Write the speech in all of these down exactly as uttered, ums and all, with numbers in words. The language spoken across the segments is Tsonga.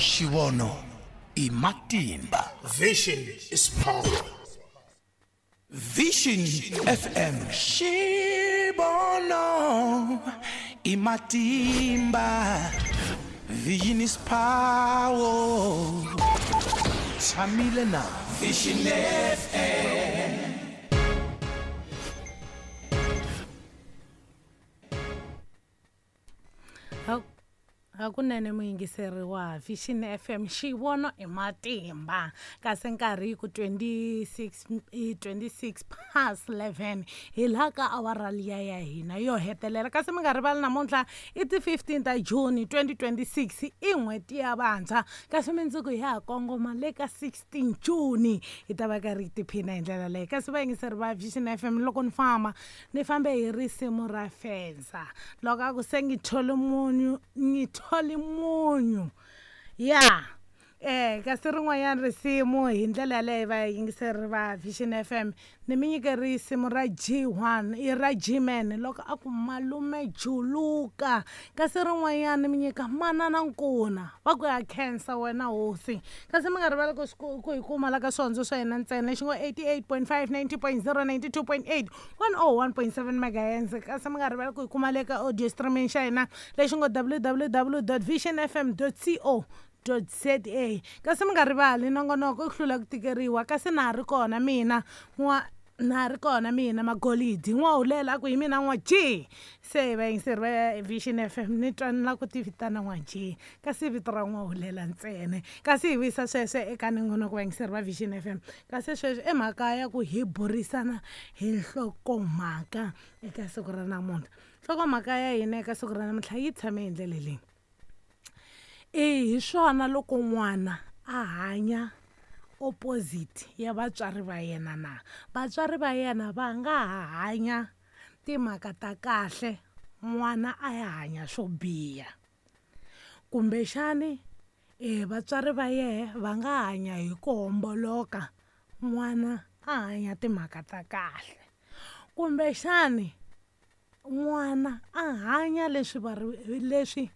Xivono i matimba. Vision is power. Vision F M. Xivono i matimba. Vision is power. Tshamile na Vision F M. Hakunene muyingiseri wa Vision F M, xivono i matimba. Kasi nkarhi ku twenty-six, twenty-six past eleven hi laha ka awara liya ya hina yo hetelela. Kasi mi nga rivali namuntlha i ti fifteen ta June twenty twenty-six, i n'hweti ya vantshwa. Kasi mundzuku hi ha kongoma le ka sixteen June, hi ta va karhi hi tiphina hi ndlela leyi. Kasi vayingiseri va Vision F M, loko ni famba ni fambe hi risimu ra Fensa, loko a ku se ngi tholi munyu ngi tholi munyu ya eh kasi rin'wanyana risimu hi ndlela yaleyo vayingiseri va Vision F M, ni mi nyike risimu ra G one i ra G-Man loko a ku malume juluka. Kasi rin'wanyana ni mi nyika manana nkuna va ku ya khensa wena hosi. Kasi mi nga rivali ku ku hi kuma la ka swihondzo swa hina ntsena lexi ngo eighty-eight point five, ninety point zero, ninety-two point eight, one oh one point seven megahertz. Kasi mi nga rivali ku hi kuma le ka audio streaming xa hina lexi ngo w w w dot vision f m dot co dot z a. Kasi mi nga rivali nongonoko i ku hlula ku tikeriwa. Kasi na ha ri kona mina n'wa na ha ri kona mina Magolidi n'wahulela a ku hi mina n'wa G. Se vayingiseri va Vision F M ni twa ni la ku ti vitana n'wa G, kasi vito ra n'wahulela ntsena. Kasi hi vuyisa sweswo eka nongonoko vayingiseri va Vision F M. Kasi sweswo i mhaka ya ku hi burisana hi nhlokomhaka eka siku ra namuntlha. Nhlokomhaka ya hina eka siku ra namuntlha yi tshame hi ndlela leyi. E hi swona loko n'wana a hanya opposite ya vatswari va yena na vatswari va yena va nga ha hanya timhaka ta kahle, n'wana a ya hanya swo biha. Kumbexani e vatswari va yehe va nga hanya hi ku homboloka, n'wana a hanya timhaka ta kahle. Kumbexani n'wana a hanya leswi va leswi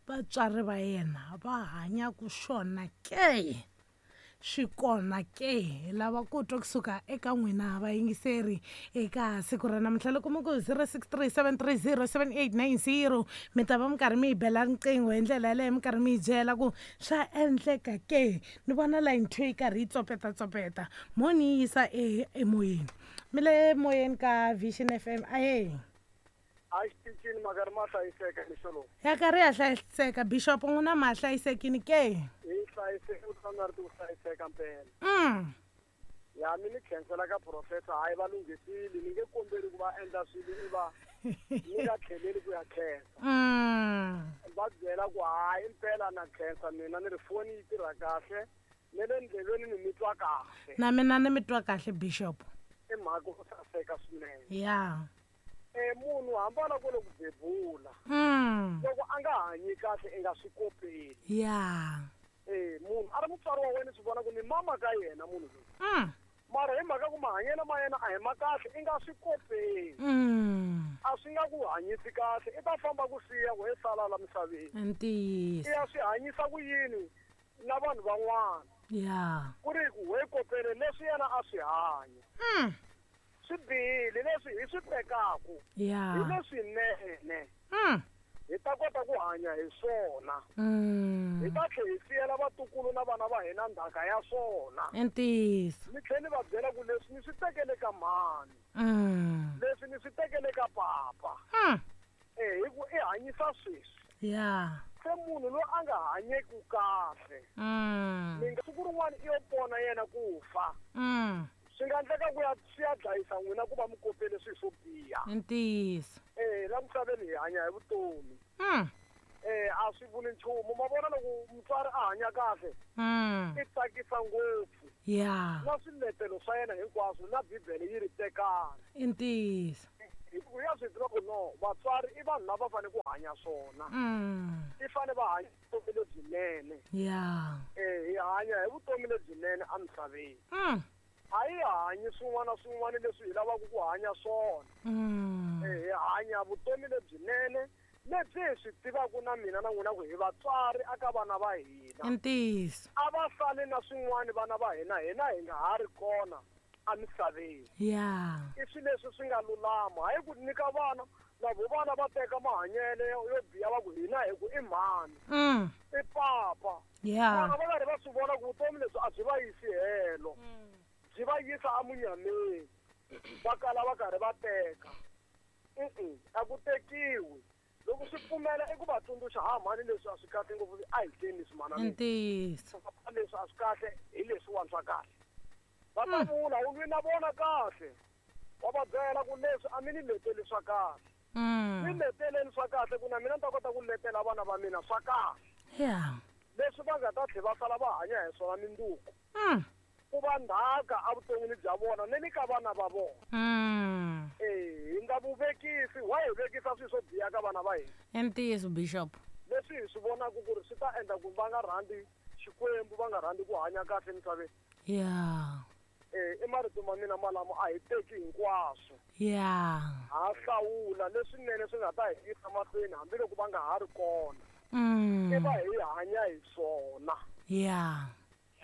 vatswari va yena va hanyaka swona ke, swi kona ke. Hi lava ku twa kusuka eka n'wina vayingiseri eka siku ra namuntlha. Loko mi ku zero six three seven three zero seven eight nine zero mi ta va mi karhi mi yi bela riqingho hi ndlela yaleyo, mi karhi mi yi byela ku swa endleka ke. Ni vona line two yi karhi yi tsopetatsopeta, mo ni yi yisa emoyeni. Mi le moyeni ka Vision F M. Ahee. A xitichini makari ma hlayiseka mixo lowu. Ya karhi ya hlayiseka Bishop, n'wina ma hlayisekini ke? Hi hlayiseka, ku tshama ri ku hlayiseka mpela. Mm. Ya mi ni khensela ka professor, hayi va lunghisile, ni nge kombeli ku va endla swilo i va ni nga tlheleli ku ya khensa. Mm. Va byela ku hayi mpela na khensa mina ni ri foni yi tirha kahle, ni le ndleleni ni mi twa kahle. Na mina ni mi twa kahle Bishop. I mhaka ku saseka swinene. Ya. E munhu hambana ku loko bebula. Mm. Loko a nga hanyi kahle i nga swi kopeli. Ya. Eh munhu a ri mutswari wa wena swi vona ku ni mama ka yena munhu loyi. Mm. Mara hi mhaka ku mahanyelo ma yena a hi ma kahle i nga swi kopeli. Mm. A swi nga ku hanyisi kahle, i ta famba ku siya ku he sala la misaveni. Ntiyiso. I ya swi hanyisa ku yini na vanhu van'wana. Ya. Ku ri ku we kopele leswi yena a swi hanya. Mm. Swi bihile leswi hi swi tekaku. Ya. Hi leswinene. Mm. Hi ta kota ku hanya hi swona. Mm. Hi ta tlhela hi siyela vatukulu na vana va hina ndzhaka ya swona. Ntiyiso. Ni tlhela ni va byela ku leswi ni swi tekele ka mhani. Mm. Leswi ni swi tekele ka papa. Mm. Eh hi ku i hanyisa sweswi. Ya. Se munhu loyi a nga hanyeki kahle. Mm. Ni nga siku rin'wana i yo pona yena ku fa. Mm. Swi nga endleka ku ya swi ya dlayisa n'wina ku va mi kopele swilo swo biha. Ntiyiso. Eh la misaveni hi hanya hi vutomi. Mm. Eh a swi vuli nchumu, ma vona loko mutswari a hanya kahle. Mm. I tsakisa ngopfu. Ya. Na swiletelo swa yena hinkwaswo na Bibele yi ri tekana. Ntiyiso. Hi ku ya swi tiva ku no vatswari i vanhu lava fanele ku hanya swona. Mm. I fane va hanya vutomi lebyinene. Ya. Eh hi hanya hi vutomi lebyinene emisaveni. Mm. A hi hanyi swin'wana swin'wana leswi hi lavaka ku hanya swona. Mm. Eh hi hanya vutomi lebyinene Lebyi hi swi tivaka na mina na n'wina ku hi vatswari aka vana va hina. I ntiyiso. A va sali na swin'wana vana va hina, hina hi nga ha ri kona emisaveni. Yeah. I swilo leswi swi nga lulama. Hayi ku nyika vana, na vo vana va teka mahanyelo yo biha va ku hina hi ku i mhani. Mm. I papa. Yeah. Vana va karhi va swi vona ku vutomi lebyi a byi va yisi helo. Byi va yisa emunyameni. Va kala va karhi va teka. Mm-mm, a ku tekiwi. Loko swi pfumela i ku va tsundzuxa ha mhani leswi a swi kahle ngopfu a hi teni leswi mhana mina. Ntiyiso. Leswi a swi kahle hi leswiwani swa kahle. Va ta vula u lwi na vona kahle. Wa va byela ku leswi a mi ni leteli swa kahle. Mi leteleni swa kahle ku na mina ni ta kota ku letela vana va mina swa kahle. Yeah. Leswi va nga ta tlhela va sala va hanya hi swona minduku. Mm. Ku va ndzhaka evuton'wini bya vona ni le ka vana va vona. Mm. Eh, hi nga vuvekisi, wa hi vekisa swilo swo biha ka vana va hina. I ntiyiso Bishop. Leswi hi swi vonaka ku ri swi ta endla ku va nga rhandzi Xikwembu, va nga rhandzi ku hanya kahle emisaveni. Yeah. Eh, i marito ma mina malamo a hi teki hinkwaswo. Yeah. Ha hlawula leswinene swi nga ta hi yisa mahlweni hambiloko va nga ha ri kona. Mm. I va hi hanya hi swona. Yeah.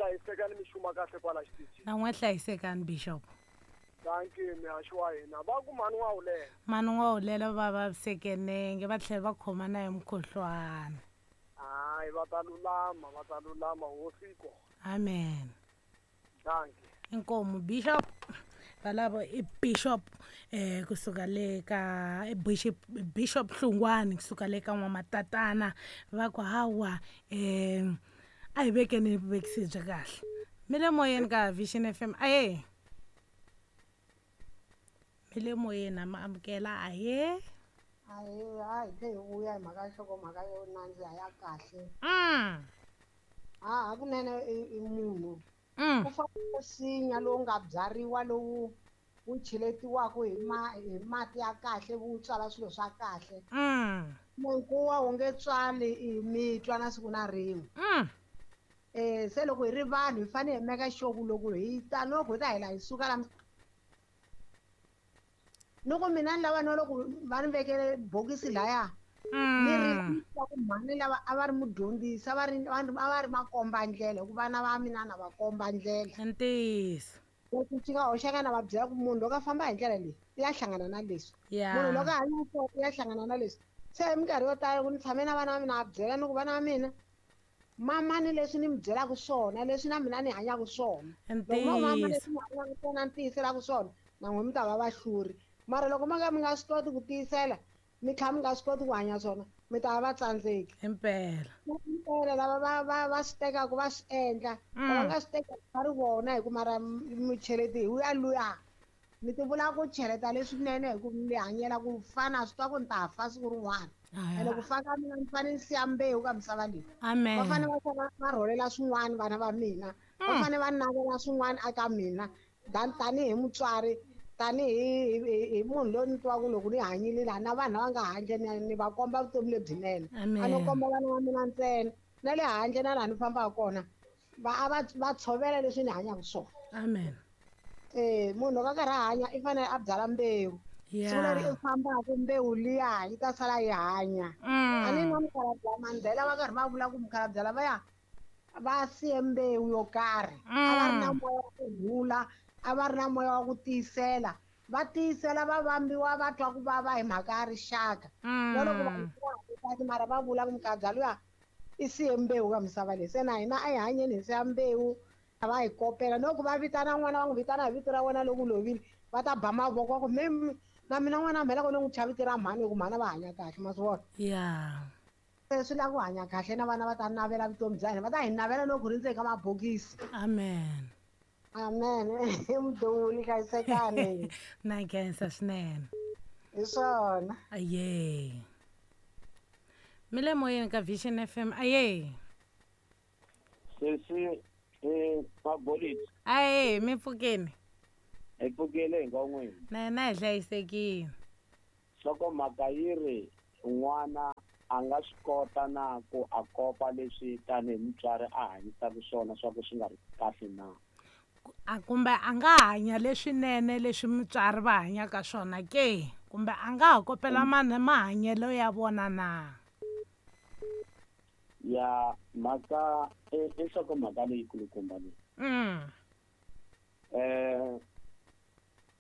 Hlayisekani mi xuma kahle kwala xitichini. Na n'we hlayisekani Bishop. Thank you, mihaxi wa hina. Va ku mhani wa wulela. Mhani wa wulela va vaviseke nenge va tlhela va khoma na hi mukhuhlwana. Hayi, va ta lulama, va ta lulama hosi yi kona. Amen. Thank you. Inkomu Bishop. Valavo i Bishop eh kusuka le ka Bishop Bishop Hlungwani kusuka le ka N'wamatatana va ku hawa eh a hi vekeni vuvekisi bya kahle. Mi le moyeni ka Vision F M. Aye. Mi le moyeni ma amukela aye. Aye, hayi tlhe hi vuya hi mhaka nhlokomhaka yo nandziha ya kahle. Mm. Ha hakunene i munhu. Mm. Ku fana na nsinya lowu nga byariwa lowu wu cheletiwaka hi ma hi mati ya kahle wu tswala swilo swa kahle. Mm. Nkuwa wu nge tswali i mitwa na siku na rin'we. Mm. Eh se loko hi ri vanhu hi fanele hi meka sure ku loko hi ta loko hi ta hela hi suka la loko mina ni lava no loko va ni vekele bokisi laya ni ri ku mhani lava a va ri mudyondzisi a va ri a va ri makomba ndlela hikuva vana va mina na va komba ndlela. Ntiyiso. Loko swi nga hoxeka na va byela ku munhu loko a famba hi ndlela leyi i ya hlangana na leswi. Munhu loko a hanya so i ya hlangana na leswi. Se hi minkarhi yo tala loko ni tshame na vana va mina va byela ni ku vana va mina mamani leswi ni mi byelaka swona leswi na mina ni hanyaka swona. Loko mama leswi ni hanyaka swona ni tiyiselaka swona na n'wina mi ta va vahluri. Mara loko ma nga mi nga swi koti ku tiyisela mi tlhela mi nga swi koti ku hanya swona mi ta va va tsandzeki. Impela. Impela lava va va va swi tekaka va swi endla va nga swi tekaka va ri vona hi ku mara mucheleti hi wuya luya mi ti vula ku cheleta leswinene hi ku mi hanyela ku fana swi twa ku ni ta fa siku rin'wana. Ene ku fa ka mina ni fanele ni siya mbewu ka misava leyi. Amen. Va fanele va va rholela swin'wana vana va mina. Va fanele va navela swin'wana eka mina tanihi mutswari tanihi hi munhu loyi ni twaka loko ni hanyile laha na vanhu lava nga handle ni va komba vutomi lebyinene. A no komba vana va mina ntsena na le handle na laha ni fambaka kona va a va va tshovela leswi ni hanyaka swona. Amen. Eh munhu loko a karhi a hanya i fanele a byala mbewu. Siku leri i fambaka mbewu liya yi ta sala yi hanya. A ni na mukhalabye Mandela va karhi va vula ku mukhalabye lavaya va siye mbewu yo karhi. A va ri na moya wa ku rhula, a va ri na moya wa ku tiyisela. Va tiyisela va vambiwa va twa ku vava hi mhaka ya rixaka. Na loko va mara va vula ku mukhalabye luya i siye mbewu ka misava leyi. Se na hina a hi hanyeni hi siya mbewu va hi kopela. Loko va vitana n'wana va n'wi vitana hi vito ra wena loko u lovile va ta ba mavoko va ku me na mina n'wana mhela ku ni n'wi thya vito ra mhani hi ku mhani va hanya kahle ma swi vona. Yeah. Se swi lava ku hanya kahle na vana va ta navela vutomi bya hina va ta hi navela loko hi ri ndzeni ka mabokisi. Amen. Amen. Mduli hlayisekani. Na khensa swinene. Hi swona. Aye. Mi le moyeni ka Vision F M. Aye. Sesi eh Mabolisi. Aye, mi pfukeni. Hi pfukile hi n'wina. Na hina hi hlayisekile. Nhlokomhaka yi ri n'wana a nga swi kota na ku a kopa leswi tanihi mutswari a hanyisaka swona swa ku swi nga ri kahle na. A kumbe a nga hanya leswinene leswi mutswari va hanyaka swona ke? Kumbe a nga ha kopela mm. mahanyelo ya vona na? Ya mhaka i nhlokomhaka leyikulukumba leyi. Mm. Eh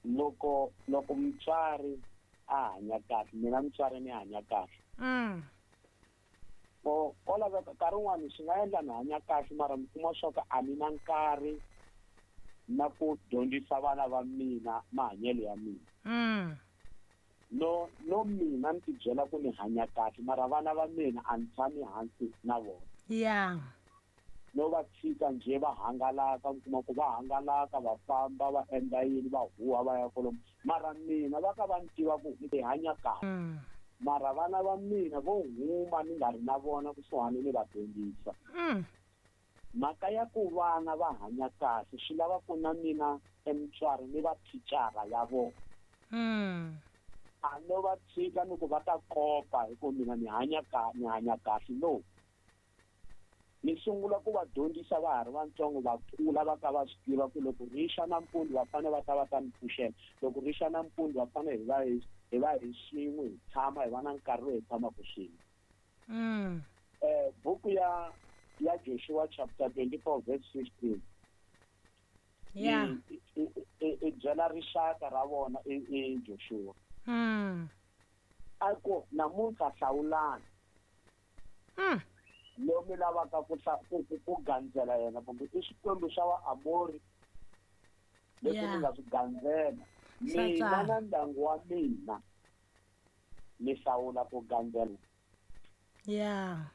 loko loko mutswari a hanya kahle, mina mutswari ni hanya kahle. Mm. Ko ko laveka nkarhi wun'wani swi nga endla ni hanya kahle mara mi kuma swa ku a ni na nkarhi na ku dyondzisa vana va mina mahanyelo ya mina. Mm. No no mina ni tibyela ku ni hanya kahle mara vana va mina a ni tshami hansi na vona. Yeah. No va tshika njhe va hangalaka, mi kuma ku va hangalaka va famba va endla yini va huwa va ya kolomu, mara mina va ka va ni tiva ku ni hanya kahle. Mm. Mara vana va mina vo huma ni nga ri na vona kusuhani ni va dyondzisa. Mm. Mhaka ya ku vana va hanya kahle swi lava ku na mina emutswari ni va thicara ya vona. Mm. A no va tshika ni ku va ta kopa hi ku mina ni hanya ka ni hanya kahle no. Ni sungula ku va dyondzisa va ha ri vatsongo va kula va ka va swi tiva ku loko ri xa nampundzu va fanele va ta va ta ni pfuxela, loko ri xa nampundzu va fanele hi va hi hi va hi swin'we hi tshama hi va na nkarhi lowu hi tshamaka swin'we. Mm. Eh buku ya ya Joshua chapter twenty-four verse fifteen. Yeah. I byela rixaka ra vona i Joshua. Mm. A ku namuntlha hlawulani. Mm. Lomu lavaka ku ku ku gandzela yena kumbe i Xikwembu xa wa Amori leswi mi nga swi gandzela. Mina na ndyangu wa mina ni hlawula ku gandzela. Yeah.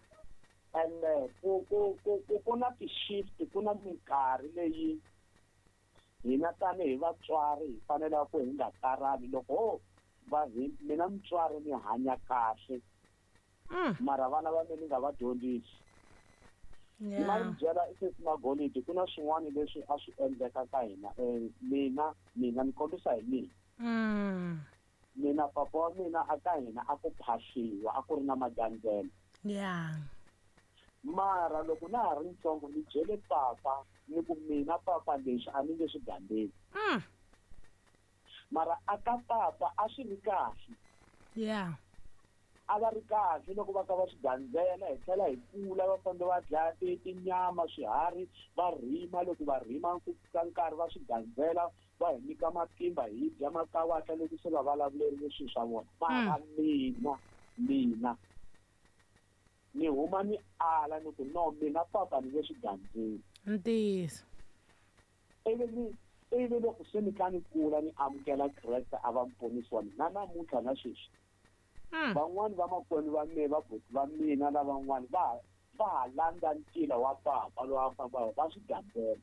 Ende ku ku ku ku na ti-shift, ku na minkarhi leyi hina tanihi vatswari hi fanele ku hi nga karhali loko va hi mina mutswari ni hanya kahle. Mm. Mara vana va mina ni nga va dyondzisi. Yeah. Ni mi byela sesi Magolidi ku na swin'wana leswi a swi endleka ka hina. Eh, mina mina ni kombisa hi mina. Mm. Mina papa wa mina a ka hina a ku phahliwa, a ku ri na magandzelo. Yeah. Mara loko na ha ri ntsongo ni byele papa ni ku mina papa leswi a ni nge swi gandzeli. Mm. Mara a ka papa a swi ri kahle. Yeah. A va ri kahle loko va ka va swi gandzela, hi tlhela hi kula va fambe va dlaya tinyama swiharhi va rima, loko va rima ku fika nkarhi va swi gandzela va hi nyika matimba hi dya makawatla loko se va vulavulerile swilo swa vona. Mara mina mina ni huma ni ala ni ku no mina papa ni nge swi gandzeli. Ntiyiso. Ivi ni ivi loko se ni kha ni kula ni amukela Kreste a va muponisi wa mina na namuntlha na sweswi. Van'wani va makwenu va mina va buti va mina lavan'wani va va ha landza ntila wa papa lowu a famba va swi gandzela.